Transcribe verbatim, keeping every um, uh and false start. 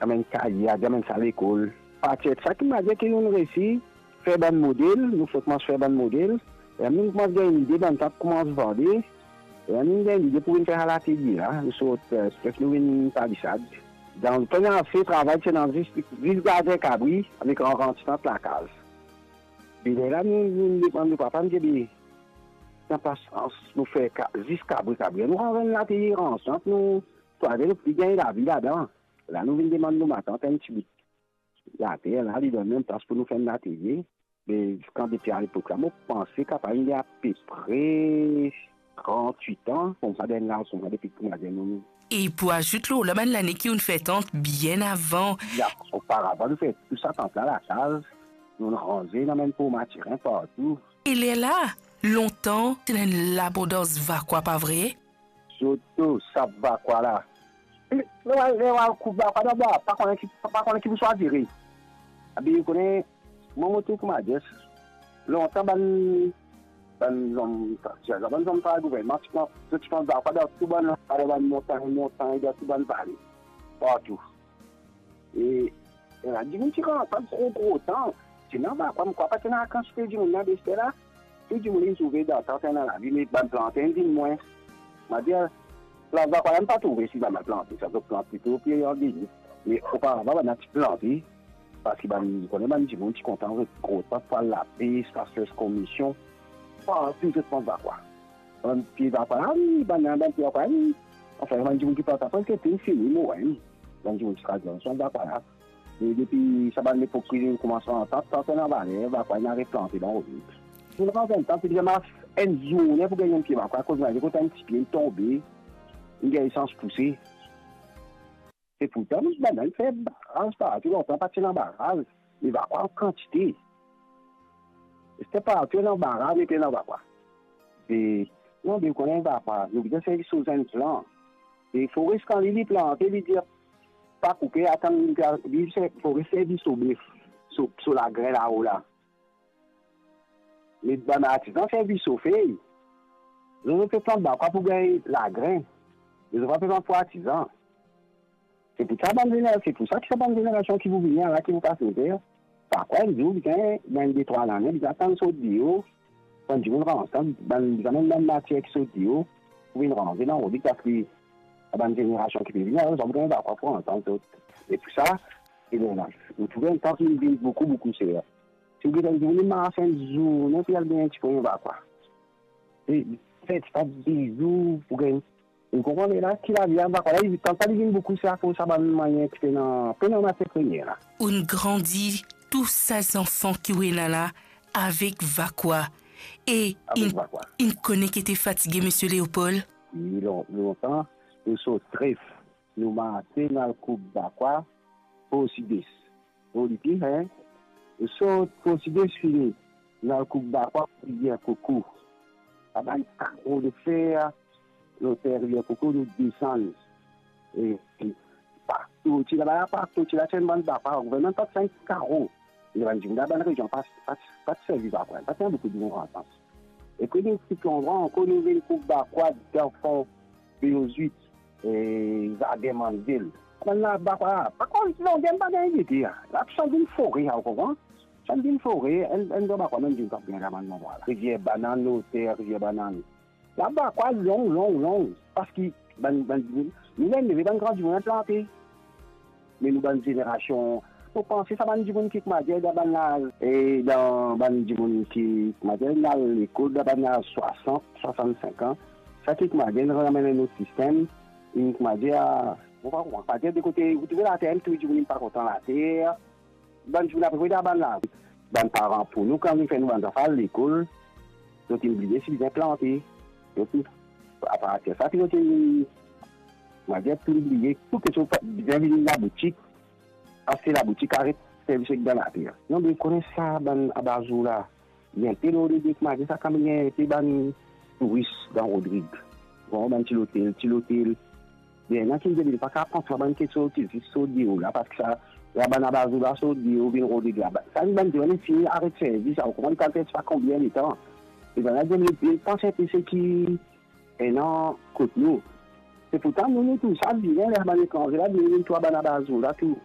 amenn kaye, al amenn sa lekol. Partir de sa ki, mo dir ki nou resi fer bann model, nou fek koumans fer bann model, e nou koumans gagn lide, bann tant koumans vande, e nou gagn lide pou vinn fer sa latelie la, nou sort, eh, Sipes, nou vinn Palisad. Dan, premie travay, ti ena zis, zis gardien kabri avek rann titant lakaz. Be lerla nou, nou demann nou papa, nou dir, be, ena pa sans nou fer ka-, zis kabri, kabri. Nou rann enn latelie rann titant, nou, pou ale, nou pou gagn lavi ladan. La nou vinn demann nou matant enn tibout later la, li donn nou enn plas pou nou fer enn latelie. Me kan depi alepok la, mo panse kapav inn apepre trant-wit an, koumsa, dan laz koumsa, depi kouma dir nou. E pou azout lor la, bann lane ki ou'nn fer tant bien avan. Ya, oparavan nou fer tou sa tant la lakaz, nou ranze, nou amenn pou matirin partou. E lerla, lontan, ti ena enn labondans vakwa, pa vre? Sirtou sa vakwa la. Lerla, lerla, koup vakwa dabor, pa kone ki, pa kone ki pou swazir. Abi, ou kone, mwa mo trouv kouma dir, lontan bann, bann zom, bann zom travay gouvernman, ti pran, ti pran vakwa dan tou bann, dan bann montagn, montagn, dan tou bann vale, partou. E, e la, dimoun ti rann pa gro, gro tan. Ti ena vakwa, mo krwar pa ti ena kantite dimoun la, be lerla, tou dimoun inn trouve dan tan, ena lavi, me bann planter inn vinn mwin. Mo dir, plant vakwa la, mo pa trouve si bann plante, sa zot plant plito pie andeyor. Me oparavan, bann la ti plante, parski bann, ou kone bann dimoun ti kontan zot gro tan pou al lapes, pou al fer komisyon, partou zot plant vakwa. Bann pie vakwa la, wi, bann, bann pie vakwa la, wi. Anfin, bann dimoun ki plant la, preske tou fini mor, wi. Bann dimoun ti kraz dan sa vakwa la. E depi sa bann lepok ki koumans antant, sa ena valer, vakwa inn replante dan Rodrig. Pou nou pran enn tan, ti bizin mars enn zourne pou gagn enn pie vakwa, akoz mo al kot enn tipie, li tonbe, li gagn sans pouse. Se pourtan nou bann la, nou fer baraz partou, lontan pa ti ena baraz, me vakwa an kantite. Lerla partou ena baraz, met ena vakwa. E, non, be ou kone vakwa, nou bizin servi so zenn plan. E forer kan li, li plante, li dir, pa koupe, atann li, li, se, forer servi so bef, so, so lagrin lao la. Me bann artizan servi so fey. Zot, zot pe plant vakwa pou gagn lagrin. Me zot pa pe plant pou artizan. Se pou sa bann zener-, se pou sa ki sa bann zenerasion ki pou vini la, ki pou pas nou fer, vakwa enn zour, bizin, dan enn de trwa lane, bizin atann sort deor, bann dimoun rann san, bann, bizin amenn bann matier ki sort deor, pou vinn ranze dan Rodrig, parski sa bann zenerasion ki pe vini la, zot pa pou gagn vakwa pou rann san zot. E pou sa, e bon, la, nou trouve enn tan ki vinn boukou, boukou ser. Si ou gete enn dimoun, li mars enn zourne pou li al gagn enn ti pwin vakwa. E, fer ti pa bizou pou gagn. Ou konpran, me la, ki lavi a vakwa la, li, kan sa li vinn boukou, se akoz sa bann manier ki pena, pena matier premie la. Ou'nn grandi tou sa zanfan ki ou ena la avek vakwa. E Avek inn, vakwa. Inn kone ki ete fatige, Misie Leopold? Wi, lon-, lontan, nou sort Tref, nou marse, nou al koup vakwa, Port Sud-Est. Bon, li pli, hein? Nou sort Port Sud-Est fini, nou al koup vakwa Rivier Coco. Sa bann karo de fer, loter Rivier Coco, nou desann. E, e, partou, ti laba la, partou, ti la, ti enn bann vakwa, gouvernman pa ti finn karo. E bann dimoun dan bann rezion pa, pa, pa ti servi vakwa, pa ti ena boukou dimoun antan. E pi nou ti pran ankor, nou vinn koup vakwa dan fon Beozwit, e, zardin Manzel. Bann la vakwa, pa konn ki longder, pa gagn lide, la. La, sa vinn fore, ou konpran? Sa vinn fore, enn, enn gran vakwa, menm dimoun pa bien la, bann landrwa la. Rivier Banann, loter Rivier Banann. La vakwa long, long, long, parski bann, bann dimoun, nou leve, bann gran dimoun inn plante. Me nou bann zenerasion, mo panse sa bann dimoun ki, koumadir, dan bann laz, e dan bann dimoun ki, koumadir, inn al lekol dan bann laz swasant, swasann-sink an, sa ki, koumadir, inn rann amenn enn lot sistem, inn, koumadir, mo pa konpran, koumadir, de kote, ou trouve later, tou dimoun inn pa kontan later, bann dimoun apre, dan bann la, bann paran pou nou, kan vinn fer nou bann zanfan al lekol, zot inn bliye si bizin plante. Zot inn, apartir sa, ki zot inn, koumadir, inn bliye, tou kiksoz bizin vinn laboutik, aste laboutik, aret servi seki dan later. Non, be kone sa, bann abazour la, li enpe lor lide, koumadir, sa kan gagn enpe bann touris dan Rodrig. Bon, bann ti lotel, ti lotel, Bien, ena ki dir li pa kapav pran sa bann kiksoz ki zis sort deor la, parski sa, la bann abazour la sort deor vinn Rodrig la. Sa bann dimoun fini aret servi sa, ou konpran, li pa fer pa konbien letan. E bann la dir li, li pans enpe seki ena kot nou. Se pourtan nou, nou tou sa, bien, ler bann etranze la, vinn, vinn trouv bann abazour la, tou.